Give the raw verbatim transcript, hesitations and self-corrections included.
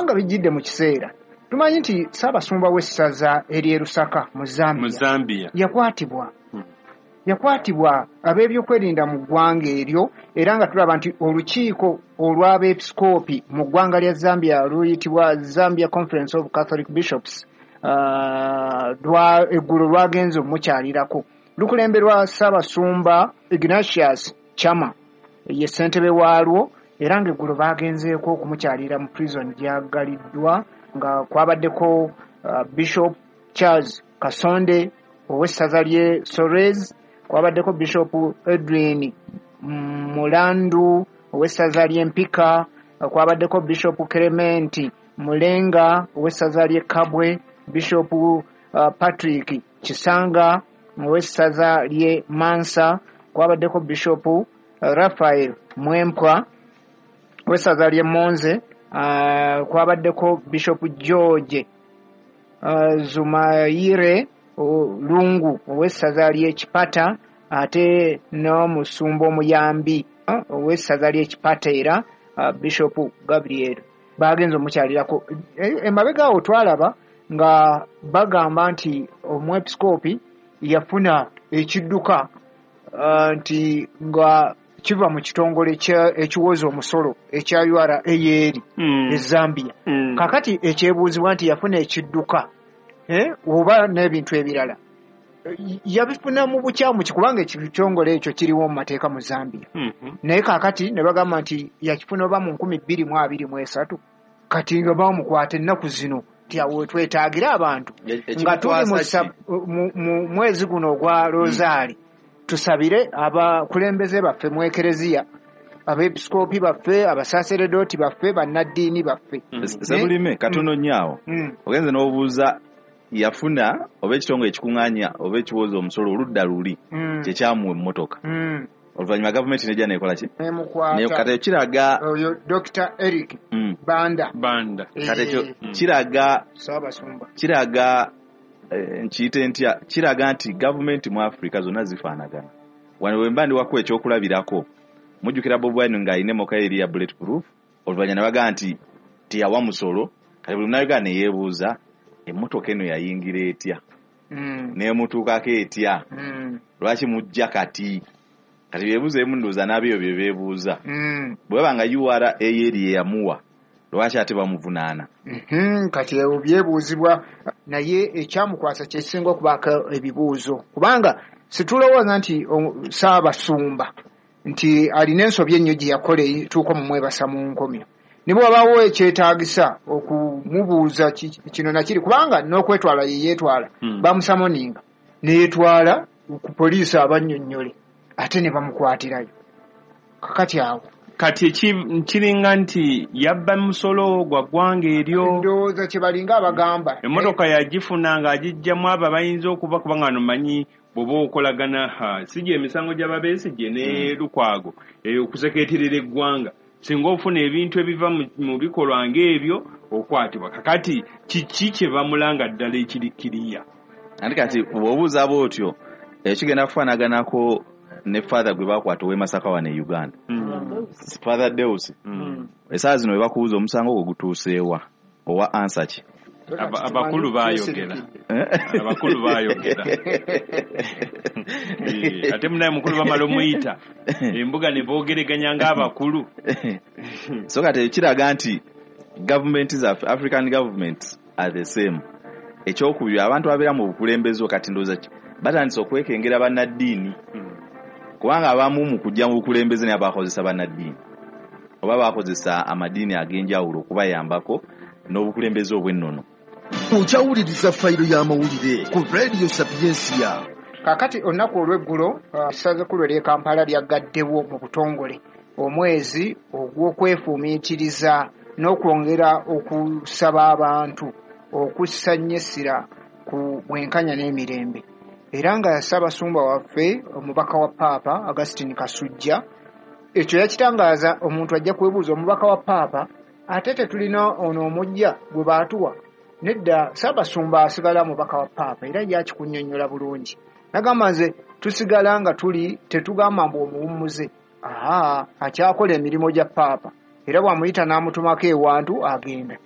Kubanga bijjidde mu kiseera. Tumanyi nti Ssaabasumba w'essaza ery'e Lusaka mu Zambia, mu Zambia yakwatibwa. Hmm. Yakwatibwa ab'ebyokwerinda mu ggwanga eryo, era nga tulaba nti olukiiko olw'abeepisikoopi mu ggwanga lya Zambia luyitibwa Zambia Conference of Catholic Bishops, uh, lwa eggulo lwagenze omukyalirako. Lukulemberwa Ssaabasumba Ignatius Chama, ye ssentebe waalwo, era ng'eggulo baagenzeeko okumukyalira mu prison gy'aggaliddwa, nga kwabaddeko uh, Bishop Charles Kasonde ow'essaza ly'e Solwezi, kwabaddeko Bishop Edwin Mulandu ow'essaza ly'e Mpika, kwabaddeko Bishop Clement Mulenga ow'essaza ly'e Kabwe, Bishop uh, Patrick Kisanga ow'essaza ly'e Mansa, kwabaddeko Bishop uh, Raphael Mwempwa ow'essaza ly'e Monze, uh, kwabaddeko Bishop George uh, Zumayire Lungu ow'essaza ly'e Chipata, ate n'omusumba omuyambi ow'essaza ly'e Chipata era uh, Bishop Gabriel. Bagenze omukyalirako. Emabega awo twalaba nga bagamba nti omwepisikoopi yafuna ekidduka uh, nti nga kiva mu kitongole ekiwoza omusolo ekya U R A eri mm. e Zambia. Mm. Kakati ekyebuuzibwa nti yafuna ekidduka eh, oba n'ebintu ebirala yabifuna mu bukyamu ki, kubanga ekitongole ekyo kiriwo mu mateeka mu Zambia. Mm -hmm. Naye kaakati ne bagamba nti yakifuna oba mu nkumi bbiri mu abiri mu esatu, kati nga bamukwata ennaku zino nti awo twetaagira abantu nga tuli mu, mu mwezi guno ogwa Rosaali mm. tusabire abakulembeze baffe mu ekereziya, abeepisikoopi baffe, abasaseredooti baffe, bannaddiini baffe. Mm. Sebulime katono nnyo awo mm. ogenze n'obuuza yafuna oba ekitongole ekikuŋŋaanya oba ekiwoza omusolo oludda luli mm. kyekyamuwa emmotoka. Mm. Oluvannyuma gavumenti nejja neekola ki? Nemukwata. Kati ekyo kiraga oyo Doctor Eric mm. Banda. Banda. Kati ekyo mm. kiraga Ssaabasumba kiraga nkiyite ntya, kiraga nti gavumenti mu Africa zonna zifaanagana. Wano bwe mba ndi wako ekyokulabirako, mujjukira Bobi Wine ng'alina emmotoka eri ya bulletproof, oluvannyuma ne bagamba nti teyawa musolo. Kati buli munnayuganda ne yeebuuza emmotoka eno yayingira etya, mm. n'emutuukako etya, mm. lwaki mujja kati? Kati byebuuzo ebimu ndowooza n'ab'ebyo bye beebuuza. Mm. Bwe baba nga U R A eri ye yamuwa, lwaki ate bamuvunaana? Mm-hmm. Kati ebyo byebuuzibwa, naye ekyamukwasa kyekisinga okubaako ebibuuzo, kubanga situlowooza nti Ssaabasumba nti alina ensobi ennyo gye yakola etuuka omumwebasa mu nkomyo. Ne bw'abaawo ekyetaagisa okumubuuza kino na kiri, kubanga n'okwetwala ye yeetwala, mm. bamusamoninga ne yeetwala ku poliisi abannyonnyole, ate ne bamukwatirayo. Kakati awo kati kiringa nti yabba musolo gwa ggwanga eryo, ndowooza kye balinga abagamba emmotoka yagifuna ng'agijjamu abo abayinza okuba, kubanga nomanyi bw'oba okolagana si gye emisango gy'ababeesigye ne Lukwago okusekeeterera eggwanga, singa ofuna ebintu ebiva mu bikolwa ng'ebyo okwatibwa. Kakati kiki kye bamulanga ddala ekiri kiriya? Ate kati bw'obuuza bw'otyo ekigenda kufaanaganako ne Father gwe bakwata ow'e Masaka wano e Uganda, mm. Father Deus. Mm. Essaawa zino we bakubuuza omusango ogwo gutuuseewa, owa ansa ki? Abakulu baayogera, abakulu baayogera. Ate munaye mukulu bamala omuyita embuga ne boogereganya ng'abakulu. So kati kiraga nti gavumenti zaffe, African governments are the same. Ekyokubiri, abantu ababeera mu bukulembeze kati ndowooza batandise okwekengera bannaddiini, kubanga abamu mu kujja mu bukulembeze naye bakozesa bannaddiini oba bakozesa amadiini ag'enjawulo okubayambako n'obukulembeze obw'ennono. Okyawuliriza fayiro y'amawulire ku Radio Sapiensia. Kaakati olunaku olw'eggulo essaza ekkulu ery'e Kampala lyaggaddewo mu butongole omwezi ogw'okwefumiitiriza n'okwongera okusaba abantu okussa nnyo essira ku bwenkanya n'emirembe. Era nga Ssaabasumba waffe omubaka wa Paapa Augustine Kasujja ekyo yakitangaaza. Omuntu ajja kwebuuza omubaka wa Paapa ate tetulina ono omujja gwe baatuwa? Nedda, Ssaabasumba asigala mubaka wa Paapa era yakikunnyonnyola bulungi. Nagamba nze tusigala nga tuli tetugamba mbu omuwummuze, aha, akyakola emirimu gya Paapa, era bw'amuyita n'amutumako ewantu agenda.